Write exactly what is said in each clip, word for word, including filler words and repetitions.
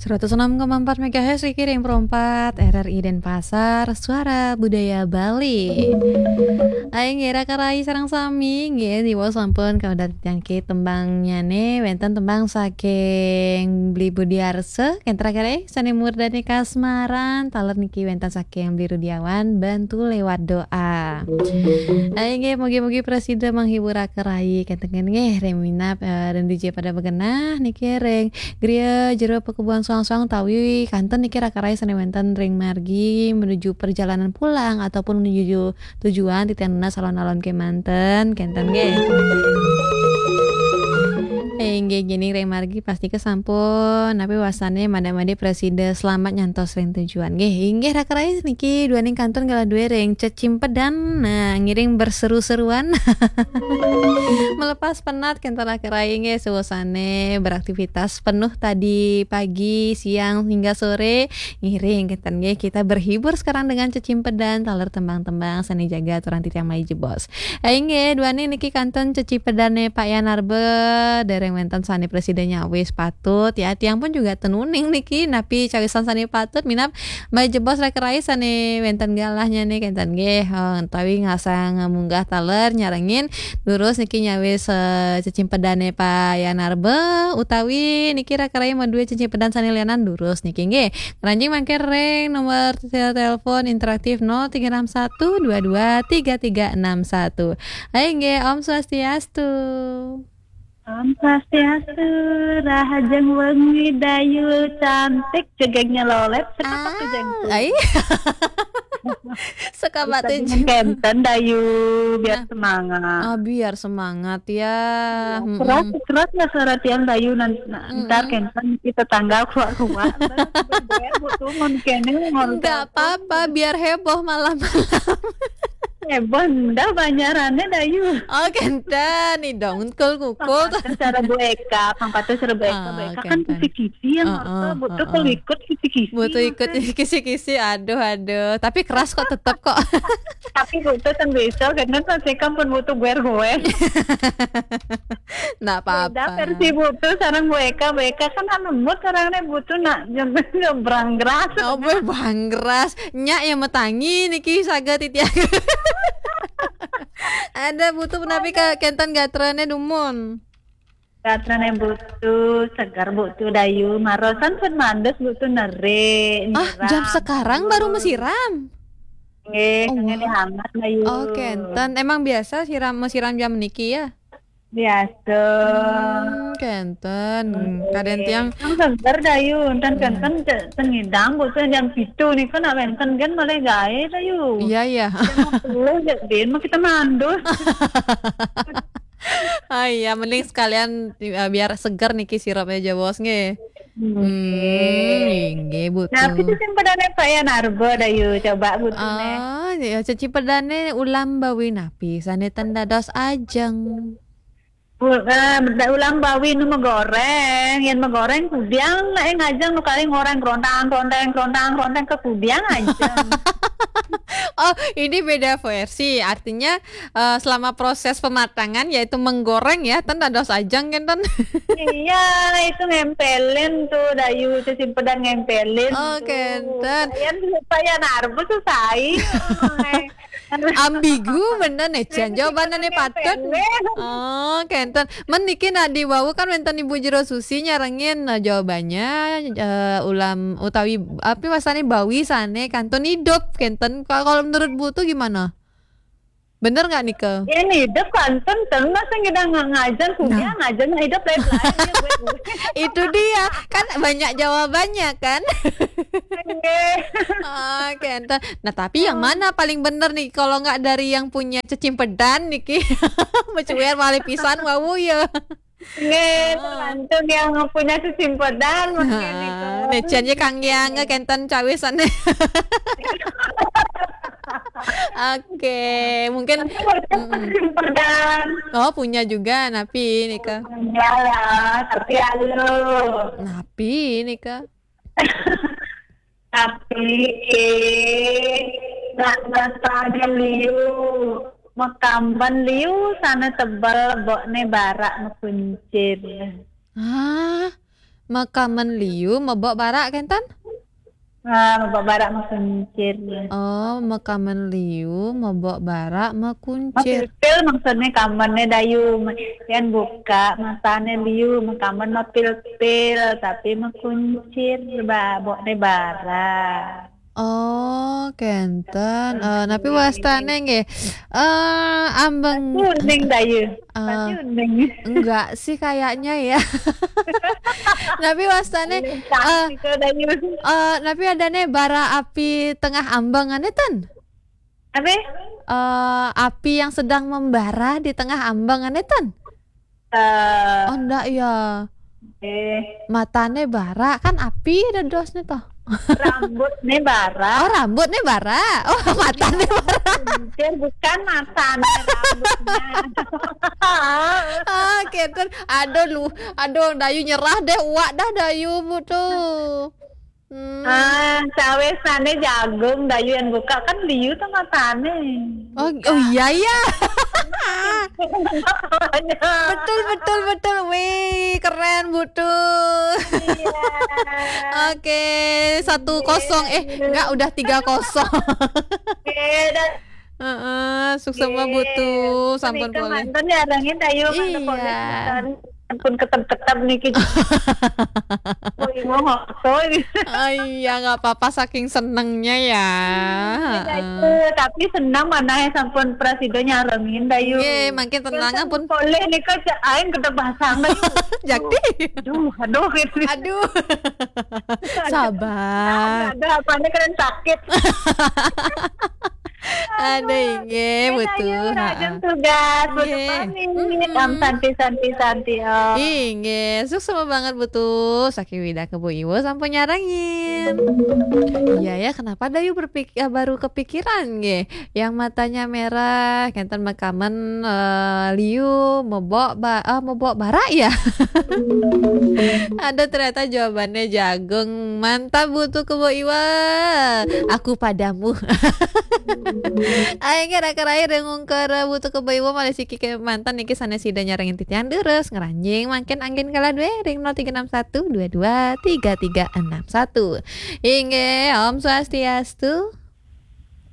Seratus enam koma empat megahertz, Riki ring Pro empat, R R I Denpasar, Suara Budaya Bali. Aing ngira karai sareng sami, nggih, diwaos sampun kawedar titiang niki tembangnyané, wénten tembang saking Bli Budiarsa, kén terakhir, eh, sané murdané kasmaran, taler niki wénten saking Bli Rudiawan, Bantu Lewat Doa. Ayo nggih, mugi-mugi prasida menghibur karai, kénten nggih, ring minab, eh, ring D J pada begenah, niki ring griya jero pakubuhan soang-soang utawi kantun niki rakarai sané wénten ring margi menuju perjalanan pulang ataupun menuju tujuan titiang nunas alon-alon kémanten, kénten nggih. Eh, inggih, gini ring margi pastika sampun, napi wastané mada-madi prasida selamat nyantos ring tujuan. Nggih, inggih rakarai niki duaning kantun galah dué ring cecimpedan. Nah, ngiring berseru-seruan. Melepas penat, kénten rakarai nggih, suasané beraktivitas penuh tadi pagi, siang, hingga sore. Ngiring, kénten nggih, kita berhibur sekarang dengan cecimpedan, taler tembang-tembang, sané jaga aturan titiang malih jebos. Eh, inggih, duaning niki kantun cecipedané Pak Yan Arba, dereng wénten sané prasida nyawis patut, ya, tiang pun juga ten uning niki, napi cawisan sané patut, minab malih jebos rakarai sané wénten galahnyané, kénten nggih, eh, utawi ngasang munggah taler nyarengin, durus niki nyawis, eh, cecimpedané Pak Yan Arba, utawi niki rakarai madué cecimpedan sané lianan, durus niki nggih. Ngranjing mangkin ring nomor telepon interaktif nol tiga enam satu dua dua tiga tiga enam satu. Hai nggih, Om Swastiastu. Om Swastiastu, rahajeng wengi Dayu cantik, jegegnya lolet, seketok Ah, jegegku. Ai. Suka Bisa batu dengan ju- kenten Dayu, biar Nah. semangat. Ah, biar semangat ya. Iya, Mm-mm. Keras, keras nggak suara tiang Dayu, nan-, na-, ntar Mm-mm. kenten kita tanggal kuat-kuat. Ntar kita bergoyang, Bu, tuh, mun kene, mun Nggak satu. Apa-apa, biar heboh malam-malam. Heboh, ndah banyarannya Dayu. Oh, kenten, nih dong, kul-kukul. Pang patuh cara Bu Eka, pang patuh cara Bu Eka, Bu Ah, Eka kan kenten. Kisi-kisi yang Heeh, orto, butuh heeh. Ikut kisi-kisi, butuh ikut maksudnya. Kisi-kisi, aduh, aduh. Tapi keras kok, tetep kok. Tapi butuh kan besok, kan pasti kan pun butuh goer-goer. Nggak apa-apa. Beda versi butuh, sareng Bu Eka, Bu Eka kan anu lembut, sarengnya butuh nak nyebrang geras. Oh, Bu, banggeras. Nyak yang metangi niki saga titiang. Ada butuh menapi ka kenten gatrane dumun. Gatrane butuh, segar butuh Dayu, marosan pun mandes butuh neri, Ah, jam nyiram, sekarang baru bagus. Mesiram? Nggih, Oh, kangge wah. Dihangat Dayu. Oh, kenten. Emang biasa siram, mesiram jam niki ya? Biasa. Hmm, kenten. Nggih. Kaden tiang. Emang seger Dayu, enten Hmm. Kenten ce-, sengidang butuh jam pitu nika nak wenten gen malah gawe Dayu. Iya, iya. Jam sepuluh ya, Din, mau kita mandus. Ah, iya, mending sekalian, eh, biar seger niki sirupnya jebos nggih. Hmm. Hmm, nggih, Bu Nah, tuh. Itu sing padane Pak Yan Arba, Dayu, coba Bu tuh, neh. Ah, ya, ceci padane ulam bawi napi, sane ten dados ajeng. Bu, eh, da-, ulam bawi nu megoreng, yen megoreng kudiang, nek ngajeng nu kali ngoreng kerontang, keronteng, kerontang, keronteng, ke kudiang ajeng. Oh, ini beda versi. Artinya, eh, selama proses pematangan, yaitu menggoreng ya, ten dados ajeng, kenten. Iya, itu ngempelin tuh, Dayu, itu simpedan ngempelin Oh, tuh. Kenten. Yen supaya narbu tuh sai. Ambigu bener nih, Jan. Jawabannya nih patut. Ngempelin. Oh, kenten. Men niki nak diwawu kan wenten Ibu Jero Susi nyarengin, eh, jawabannya, eh, ulam utawi, apa, masane bawi sane kantun hidup, kenten. Kalau, kalau menurut Bu tuh gimana? Bener nggak, Nike? Ini hidup kantun, ten masa ngidang nga-, ngajen, kudiang Ah. Ngajen, hidup lain-lain, ya, gue, gue. Itu dia, kan banyak jawabannya, kan? Nggih. Oh, kenten. Nah, tapi yang Oh. Mana paling bener nih, kalau nggak dari yang punya cecimpedan niki? Mecuer malih pisan, wawu ya. Nggih, oh. Tergantung yang punya sesimpedan, mungkin. Nah, itu. Nah, Cian ya Kang Yang, kenten cawisan. Oke, mungkin, tapi punya mm-mm. Sesimpedan. Oh, punya juga, napi nika? Punya lah, tapi alo. Napi nika? Tapi, eh, nak nastane liu, makamban liu, sana tebel, bokne barak mekuncir. Ah, Makamen liu, mebok barak, kenten? Ah, mebok barak mekuncir. Oh, makamen liu, mebok barak mekuncir. Mepilpil maksudnya kamennya Dayu. Yan buka matanya liu, makamen mepilpil, tapi mekuncir, ba-, boknya barak. Oh, kenten. Eh, napi wastane nggih? Eh, ambeng. Pasti uning, Dayu. Pasti uning. Enggak sih kayaknya ya. Napi wastane, eh, Dayu. Eh, napi adane bara api tengah ambeng, ane ten? Apa? Eh, api yang sedang membara di tengah ambeng, ane ten? Eh. Oh, ndak ya. Eh. Matane bara, kan api dadosne toh. Rambutne bara. Oh, rambutne bara. Oh, matane bara. Kuncir, bukan matane, rambutnya. Ah, kenten. Aduh, lu, aduh, Dayu nyerah deh, uak dah Dayu, Bu, tuh. Hmm. Ah, cawe sane jagung, Dayu yang buka kan liu tuh matane. Oh, oh iya, iya. Betul, betul, betul. Wih, keren, Bu, tuh. Iya. Oke, satu kosong. Eh, enggak, udah tiga kosong. Oke, dah. Heeh, suksma, Bu, tuh. Sampun polih. Manten ya, arangin Dayu, manten polih. Iya. Sampun ketep-ketep niki. Woi, mau ngoso ini. Oh iya, nggak apa-apa, saking senengnya ya. Iya, Dayu. Heeh. Tapi senang mana ya sampun prasida nyarengin, Dayu. Nggih, mangkin tenang, sampun pun polih nika, cek aing gede basang, Dayu. Jakti. Duh, aduh, gitu. Aduh. Sabar. Ada apanya keren sakit. Ada, inggih, Bu, tuh. Ayo, rajin tugas, Bu, tuh pamit. Mm-mm. Am, santi, santi, santi, oh. Inggih, suksma banget, Bu, tuh. Saking widake Bu Iwo sampun nyarengin. Iya ya, kenapa Dayu berpik-, eh, baru kepikiran, nggih? Yang matanya merah, kenten makamen, eh, liu, mebok ba-, eh, mebok barak ya? Ada ternyata jawabannya jagung. Mantap, Bu, tuh, ke Bu Iwa. Aku padamu. Ayo, kira-kira ring ungkur, eh, Bu, tuh, ke Bu Iwa, malih siki ke manten niki sanes sida nyarengin titiang terus. Ngranjing mangkin anggen kala due ring nol tiga enam satu dua dua tiga tiga enam satu. Inggih, Om Swastiastu.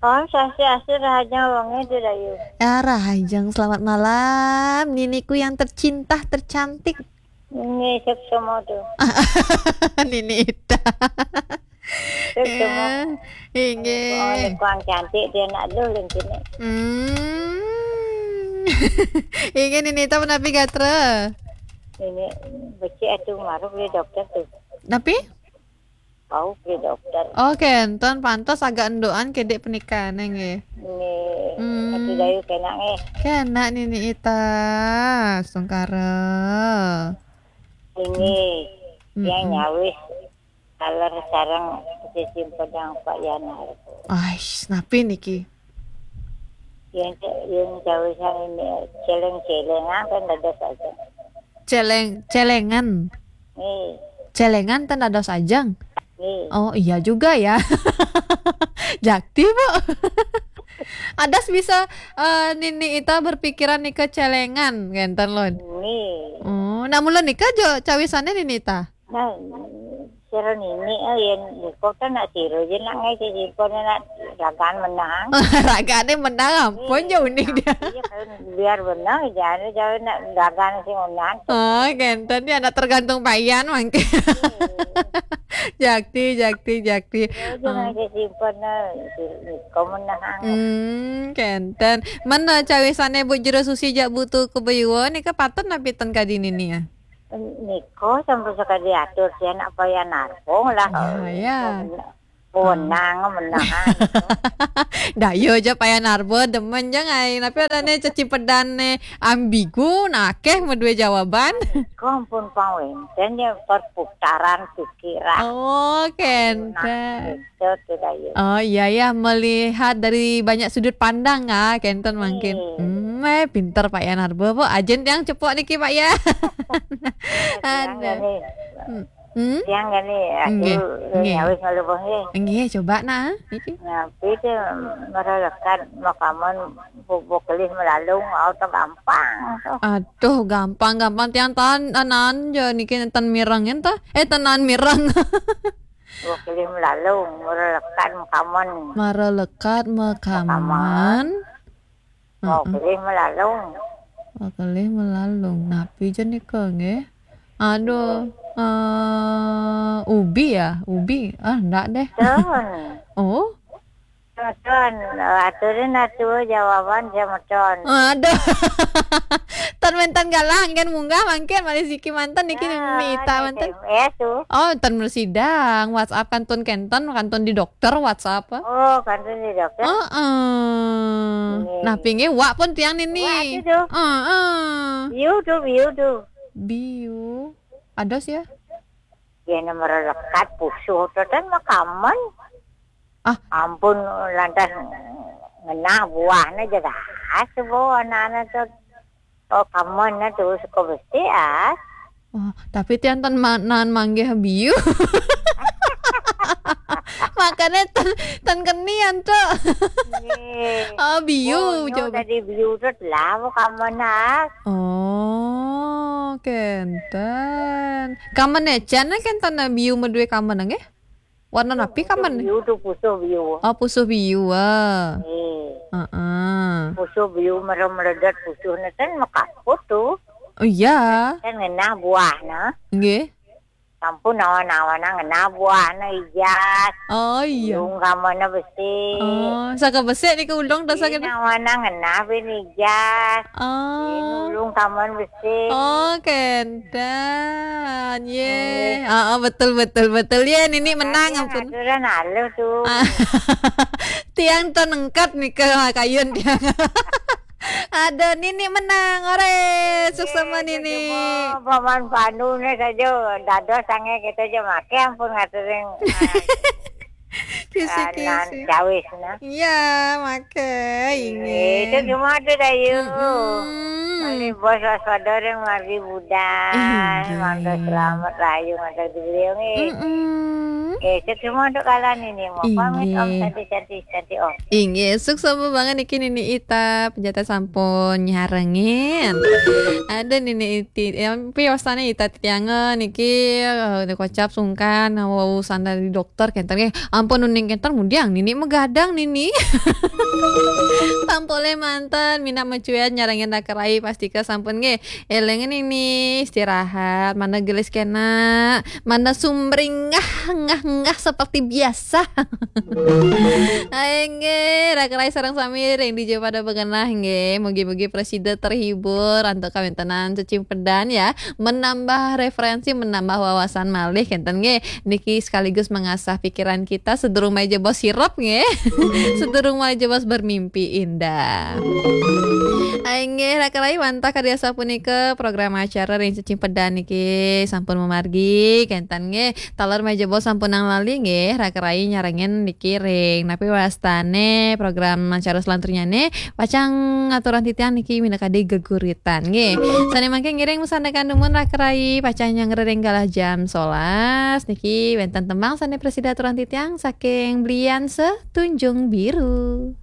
Om Swastiastu, rahajeng wengi, Dayu. Ah, rahajeng, selamat malam, niniku yang tercinta, tercantik. Nini suksma tuh. Nini Ita. Suksma. Eh, inggih. Oh, ini kurang cantik dia nak dulu ini. Hmm. Inggih, Nini Ita, menapi gatra? Ini becik atuh maru beli dokter tuh. Napi? Bau beli dokter. Oh, kenten, pantes agak endukan kedek pernikahan, nggih. Nggih. Hmm. Atuh Dayu kena, nggih. Kena, Nini Ita. Astungkara. Ini yang nyawis taler sareng sesimpenan Pak Yanar. Ais, napi niki? Yang, yang cawisan ini celeng-celengan kan dados aja. Celeng, celengan. Nih. Celengan ten dados ajeng. Nih. Oh, iya juga ya. Jakti, Bu. Adas bisa, eh, Nini Ita berpikiran nika celengan, kenten, Lun. Nih. Oh, nak mula nika jo cawisannya Nini Ita? Nah, sira nini, eh, yen nika kan nak sira je nak ngai sing simpun nak ragan menang. Ragane menang, ampun, iya, je unik dia. Iya, kan biar menang, jangan, jangan nak ragan sing menang. Oh, kenten ya, nak tergantung payan mangke. Iya. Jakti, jakti, jakti. Ya, jangan sing simpun, nah, nika menang. Hmm, kenten. Mana cawisane Bu Jero Susi jak butuh ke Beyuwa nika patut napi ten kadi nini ya? Nika sampun sekadi atur, sian apa ya narpung lah. Ya, ya. Menang, menang. Dah, yo aja paya narbo, demen jeng ai. Tapi adane cecipedane ambigu, nah akeh medue jawaban. Nika ampun pang wenten ya perputaran pikiran. Oh, kenten. Nah, itu tuh, Dayu. Oh, iya, ya, melihat dari banyak sudut pandang, ah, kenten mangkin. Iya. Hmm, eh, pinter Pak Yanarbo, Bu. Ajen yang cepok niki, Pak, ya. Ada. Hmm. Hmm? Tiang gini, nggih, aduh, nggih, nyawis ngalebeng nggih. Nggih, coba nah, niki. Napi téh maralekat makamen bu-, bukelih melalung, au téh gampang tuh. Aduh, gampang-gampang tiang tan anan ja niki ten mireng enten. Eh, tenan mireng. Bukelih melalung, maralekat makamen. Maralekat makamen. Makamen. Mau Heeh. Kelih melalung. Oh, kelih melalung. Napi ja nika nggih? Aduh, eh, ubi ya? Ubi? Ah, ndak deh. Tun. Oh? Tun, aturin atuh jawaban semeton. Aduh. Tan wénten galah anggen munggah mangkin malih siki manten niki. Nah, Mita manten. S M S tuh. Oh, tan mresidang. WhatsApp kantun kénten, kantun di dokter WhatsApp. Oh, kantun di dokter. Heeh. Nggih. Nah, pinggih wak pun tiang nini. Wak itu tuh. Heeh. Biu tuh, biu tuh. Biu. Ados ya? Ya, nomor lekat pusuh tuh kan makamen. Ah. Ampun, lantas ngenah buahnya jelas tuh, Bu, anak-anak tuh. Oh, kamen tuh suka besi, ah. Oh, tapi tiang tan ma-, nan manggih biu. Makanya tan, tan kenian tuh. Nggih. Oh, biu, oh, nyo coba. Tadi biu tuh lah, Bu, kamen, ah. Oh, kenten. Kamen ecan kenten biu madue kamen nggih? Warna napi kamen? Pusuh biu tuh, pusuh biu. Oh, pusuh biu, ah. Nggih. Heeh. Pusuh biu merem meledet pusuh neten mekaput tuh. Oh, iya. Kan ngenah buahna. Nggih. Sampun nawan-nawana ngenah buahna ijas. Oh, iya. Ulung kamana besi. Oh, saka besi nika ulung dosa. Ih, kita. Nawana ngenah bin ijas. Oh. Ih, ulung kaman besi. Oh, kenten. Ye. Nggih. Ah, ah, betul, betul, betul. Ye, nini menang. Tapi ampun. Aturan halus tuh. Ah. Tiang tuh nengkat nika kayun tiang. Aduh, nini menang, ore. Suksma, nggih, nini. Cuma Paman Pandu nih saja, dados sange kita aja make ampun ngaturin. Kisi-kisi. Nan cawis nah. Iya, make, nggih, inggih. Itu cuma tuh, Dayu. Mm-mm. Mari bos waspada ring margi budal. Inggih. Mangga selamat rahayu ngantar di beliau, nggih. Mm-mm. Nggih, itu cuma untuk kalian ini. Mau pamit, Om. Inggih. Santi, Santi, Santi, Om. Inggih, suksma banget niki Nini Ita, penjata sampun nyarengin. Ada Nini Iti, ya, tapi wasane Ita titiange niki, eh, kocap sungkan, wau sandal di dokter kenten nggih. Ampun uning kenten mudiang Nini megadang Nini. Sampun le manten, minat mecuet nyarengin Raka Rai pastika sampun nggih. Eleng Nini istirahat, mana gelis kena, mana sumringah, ngah-ngah seperti biasa. Inggih, Raka Rai sareng sami ring dija pada begenah nggih. Mugi-mugi prasida terhibur antuk kawéntenan cecimpedan ya. Menambah referensi, menambah wawasan malih kenten nggih. Niki sekaligus mengasah pikiran kita sedurung meja bos sirep nggih. Sedurung meja bos bermimpi indah. Inggih, Raka Rai wantah kadi asapunika program acara ring cecimpedan niki sampun mamargi kenten nggih. Taler meja bos sampunang lali nggih, Raka Rai nyarengin niki ring napi wastane program acara selanturnyane, pacang ngaturan titiang niki minakadi geguritan nggih. Sane mangke ngiring masandekan dumun Raka Rai, pacang nyanggra ring galah jam solas niki wenten tembang sane prasida aturan titiang saking Blian Setunjung Biru.